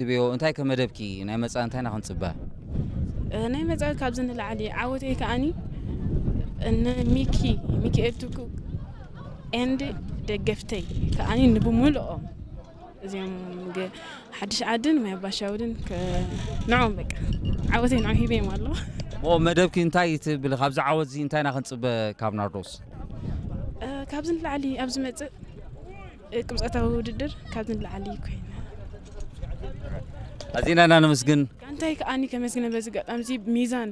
ትብዮ? እንታይ ከ መደብኪ? ናይ መጻኢ እንታይ ኢና ክንጽበ? ናይ መጻኢ ካብዚ ንላዕሊ ዓወተይ ከኣኒ ንሚኪ ሚኪኤል ትኩ ኤንድ ደገፍተይ ከኣኒ ንብምልኦም እዚኦም ሓድሽ ዓድን ማይ ኣባሻውልን ንዖም በቃ ዓወተይ ንዖም ሂበዮም ኣሎ። ሞ መደብኪ እንታይ ትብል? ካብዚ ዓወት እዚ እንታይ ኢና ክንጽበ ካብ ናርዶስ? ካብዚ ንላዕሊ ኣብ ዝመጽእ ቅብፀታዊ ውድድር ካብዚ ንላዕሊ ኮይነ። ኣዚና ኢና ነመስግን። ጋንታይ ከኣኒ ከመስግነ በዚ ኣጋጣሚ እዚ ሚዛን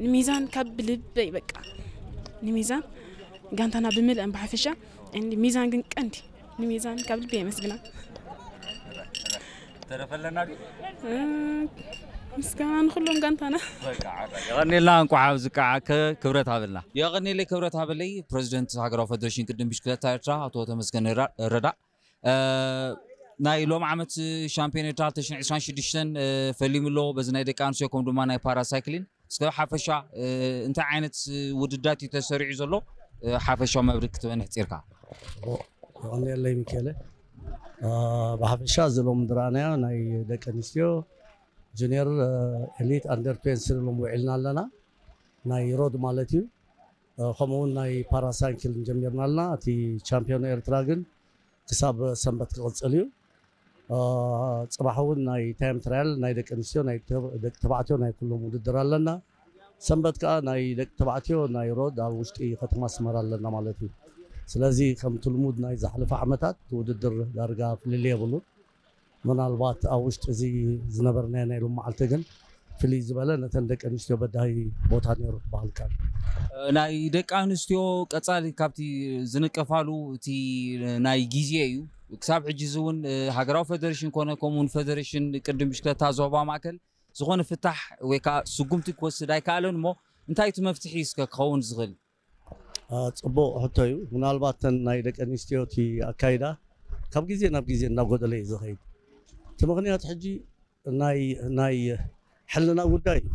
ንሚዛን ካብ ልበይ በቃ ንሚዛን ጋንታና ብምልአን ብሓፈሻ እንዲ ሚዛን ግን ቀንዲ ንሚዛን ካብ ልበይ የመስግና። ተረፈለና ምስጋና ንኩሎም ጋንታና። የቐኔልና እንኳዕ ኣብዚ ከዓ ክብረት ሃበልና። የቐኔለይ ክብረት ሃበለይ። ፕሬዚደንት ሃገራዊ ፌደሬሽን ቅድም ብሽክለታ ኤርትራ ኣቶ ተመስገን ረዳ ናይ ሎም ዓመት ሻምፒዮን ኤርትራ ክልተ ሽሕን ዕስራን ሽዱሽተን ፈሊሙ ኣሎ። በዚ ናይ ደቂ ኣንስትዮ ከም ድማ ናይ ፓራሳይክሊን እስከ ሓፈሻ እንታይ ዓይነት ውድዳት እዩ ተሰሪዑ ዘሎ? ሓፈሻዊ መብርህ ክትበን ሕፂርካ። የቐንየለይ ሚካኤለ። ብሓፈሻ እዚ ሎም ዝረኣናዮ ናይ ደቂ ኣንስትዮ ጁኒየር ኤሊት ኣንደር ትዌንቲ ሎም ውዒልና ኣለና። ናይ ሮድ ማለት እዩ። ከምኡውን ናይ ፓራሳይክል ጀሚርና ኣለና። እቲ ቻምፒዮን ኤርትራ ግን ክሳብ ሰንበት ክቕፅል እዩ። ፅባሕ እውን ናይ ታይም ትራያል ናይ ደቂ ኣንስትዮ ናይ ደቂ ተባዕትዮ ናይ ኩሎም ውድድር ኣለና። ሰንበት ከዓ ናይ ደቂ ተባዕትዮ ናይ ሮድ ኣብ ውሽጢ ከተማ ኣስመራ ኣለና ማለት እዩ። ስለዚ ከምቲ ልሙድ ናይ ዝሓለፈ ዓመታት ውድድር ዳርጋ ፍልልይ የብሉን። ምናልባት ኣብ ውሽጢ እዚ ዝነበርናዮ ናይ ሎም መዓልቲ ግን ፍልይ ዝበለ ነተን ደቂ ኣንስትዮ በዳሂ ቦታ ነይሩ ክበሃል ይከኣል። ናይ ደቂ ኣንስትዮ ቀፃሊ ካብቲ ዝንቀፋሉ እቲ ናይ ግዜ እዩ። ክሳብ ሕጂ እዚ እውን ሃገራዊ ፌደሬሽን ኮነ ከምኡውን ፌደሬሽን ቅድም ብሽክለታ ዞባ ማእከል ዝኾነ ፍታሕ ወይ ከዓ ስጉምቲ ክወስድ ኣይከኣለን እሞ እንታይ እቲ መፍትሒ እስከ ክኸውን ዝኽእል? ፅቡቕ ሕቶ እዩ። ምናልባት ተን ናይ ደቂ ኣንስትዮ እቲ ኣካይዳ ካብ ግዜ ናብ ግዜ እናጎደለ እዩ ዝኸይድ። እቲ ምኽንያት ሕጂ ናይ ናይ ሕልና ጉዳይ እዩ።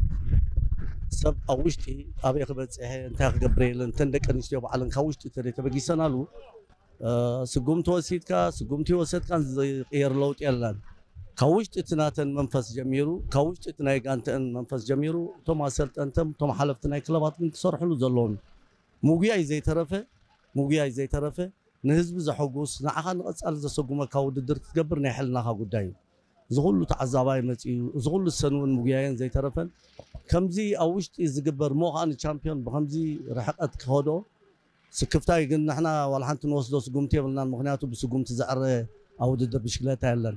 ሰብ ኣብ ውሽጢ ኣበይ ክበፅሐ እንታይ ክገብር የለን። እተን ደቂ ኣንስትዮ ባዕለን ካብ ውሽጢ ተደይ ተበጊሰናሉ ስጉምቲ ወሲድካ ስጉምቲ ወሰድካን ዝቅየር ለውጢ የለን። ካብ ውሽጢ እቲ ናተን መንፈስ ጀሚሩ ካብ ውሽጢ እቲ ናይ ጋንተአን መንፈስ ጀሚሩ እቶም ኣሰልጠንተም እቶም ሓለፍቲ ናይ ክለባት ግን ክሰርሕሉ ዘለዎም ምጉያይ ዘይተረፈ ምጉያይ ዘይተረፈ ንህዝቢ ዘሐጉስ ንዓኻ ንቐፃሊ ዘሰጉመካ ውድድር ክትገብር ናይ ሕልናኻ ጉዳይ እዩ። እዚ ኩሉ ተዓዛባይ መፂኡ እዚ ኩሉ ሰን እውን ምጉያየን ዘይተረፈን ከምዚ ኣብ ውሽጢ ዝግበር ሞ ከዓ ንቻምፒዮን ብከምዚ ርሕቀት ክኸዶ ስክፍታይ ግን ንሕና ዋላ ሓንቲ ንወስዶ ስጉምቲ የብልናን ምክንያቱ ብስጉምቲ ዘዕረ ኣብ ውድድር ብሽክለታ የለን።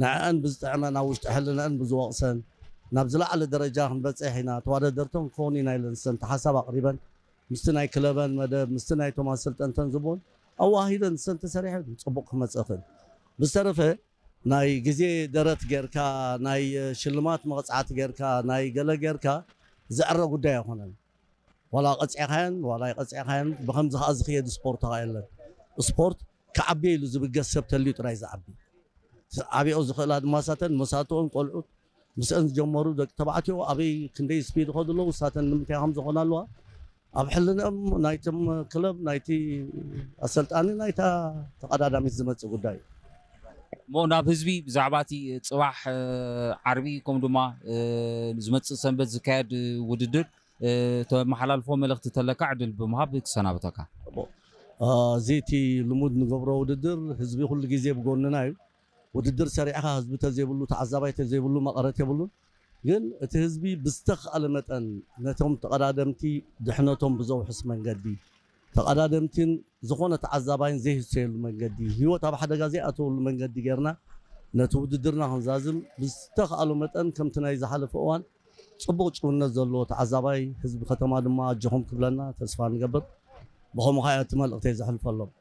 ንዕአን ብዝጥዕመን ኣብ ውሽጢ ሕልንአን ብዝወቕሰን ናብ ዝለዓለ ደረጃ ክንበፅሕ ኢና ተዋዳደርተን ክኸውን ኢና ኢለን ዝሰንተ ሓሳብ ኣቕሪበን ምስቲ ናይ ክለበን መደብ ምስቲ ናይቶም ኣሰልጠንተን ዝብን ኣዋሂደን ዝሰንተ ሰሪሐን ፅቡቕ ክመፅእ ይኽእል። ብዝተረፈ ናይ ግዜ ደረት ጌርካ ናይ ሽልማት መቕፃዕቲ ጌርካ ናይ ገለ ጌርካ ዝዕረ ጉዳይ ኣይኮነን። ዋላ ቀፂዕካየን ዋላ ኣይቀፂዕካየን ብከምዚ ከዓ ዝኽየድ ስፖርት ከዓ የለን። ስፖርት ክዓቢ ኢሉ ዝብገስ ሰብ ተልዩ ጥራይ ዝዓቢ። ዓቢኦ ዝኽእላ ድማ ሳተን መሳትኦን ቆልዑት ምስአን ዝጀመሩ ደቂ ተባዕትዮ ኣበይ ክንደይ ስፒድ ይኸዱ ኣለዉ ሳተን ንምንታይ ከም ዝኾና ኣለዋ ኣብ ሕልንኦም ናይቶም ክለብ ናይቲ ኣሰልጣኒ ናይታ ተቐዳዳሚት ዝመፅእ ጉዳይ እዩ። እሞ ናብ ህዝቢ ብዛዕባ እቲ ፅባሕ ዓርቢ ከም ድማ ዝመፅእ ሰንበት ዝካየድ ውድድር ተመሓላልፎ መልእኽቲ ተለካ ዕድል ብምሃብ ክሰናብተካ። እዚ እቲ ልሙድ ንገብሮ ውድድር ህዝቢ ኩሉ ግዜ ብጎንና እዩ። ውድድር ሰሪዕኻ ህዝቢ ተዘይብሉ ተዓዛባይ ተዘይብሉ መቐረት የብሉን። ግን እቲ ህዝቢ ብዝተኽኣለ መጠን ነቶም ተቐዳደምቲ ድሕነቶም ብዘውሕስ መንገዲ ተቐዳደምቲን ዝኾነ ተዓዛባይን ዘይህሰየሉ መንገዲ ህይወት ኣብ ሓደጋ ዘይኣተወሉ መንገዲ ጌርና ነቲ ውድድርና ክንዛዝም ብዝተኽኣሎ መጠን ከምቲ ናይ ዝሓለፈ እዋን ፅቡቕ ጭውነት ዘለዎ ተዓዛባይ ህዝቢ ከተማ ድማ ኣጆኹም ክብለና ተስፋ ንገብር። ብኸምኡ ከዓ እቲ መልእኽተይ ዘሕልፈሎም።